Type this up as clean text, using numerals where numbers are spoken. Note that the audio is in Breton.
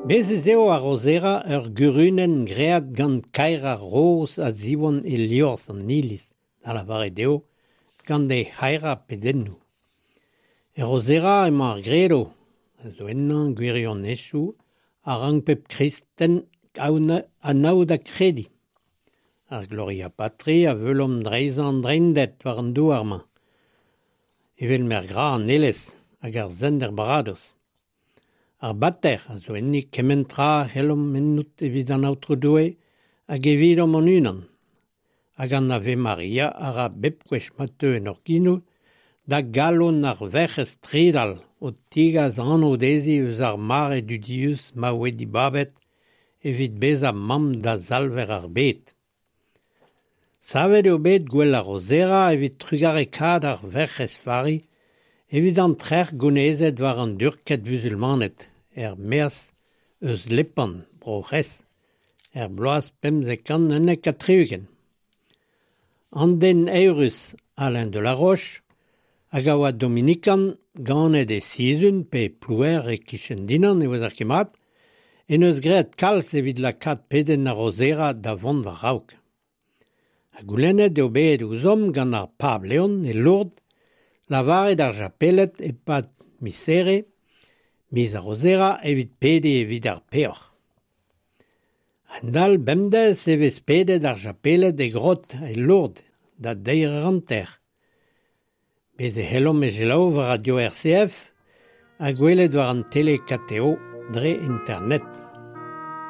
Bez' ez eo ar Rozera ur gurunenn graet gant kaerañ roz a ziwan e liorzh an iliz, da lavaret eo gant he c'haerañ pedennoù. Er Rozera emañ ar Gredo, a zo ennañ gwirionezioù a rank pep kristen anaout ha krediñ. Ar Gloria Patri a veulomp dreizañ an Dreinded war an douar-mañ, evel m'er gra an Aelez hag ar Sent er Baradoz. Ar Bater a zo enni kement tra a c'hellomp ennout evit an Aotrou Doue hag evidomp hon-unan. Hag an Ave Maria a ra bep gwech ma teu en hor genoù da galon ar Werc'hez tridal o tigas anv dezhi eus ar mare dudius ma oe dibabet evit bezañ mamm da Salver ar bed. Savet eo bet gouel ar Rozera evit trugarekaat ar Werc'hez Vari evit an trec'h gounezet war an Durked vuzulmaned er-maez eus Lepant, Bro-C'hres, er bloaz 1571. An den eürus Alain de la Roche, hag a oa dominikan, ganet e Sizun pe Plouer e-kichen Dinan e ouezer ket mat, en deus graet kalz evit lakaat pedenn ar Rozera da vont war-raok. Ha goulennet eo bet ouzhomp gant ar pab Leon e Lourdes lavaret ar japeled e-pad miz Here, miz ar Rozera evit pediñ evit ar peoc'h. A-hend-all bemdez e vez pedet ar japeled e grot e Lourdes da deir eur hanter. Bez' e c'hellomp e selaou war radio RCF ha gwelet war an tele KTO dre internet.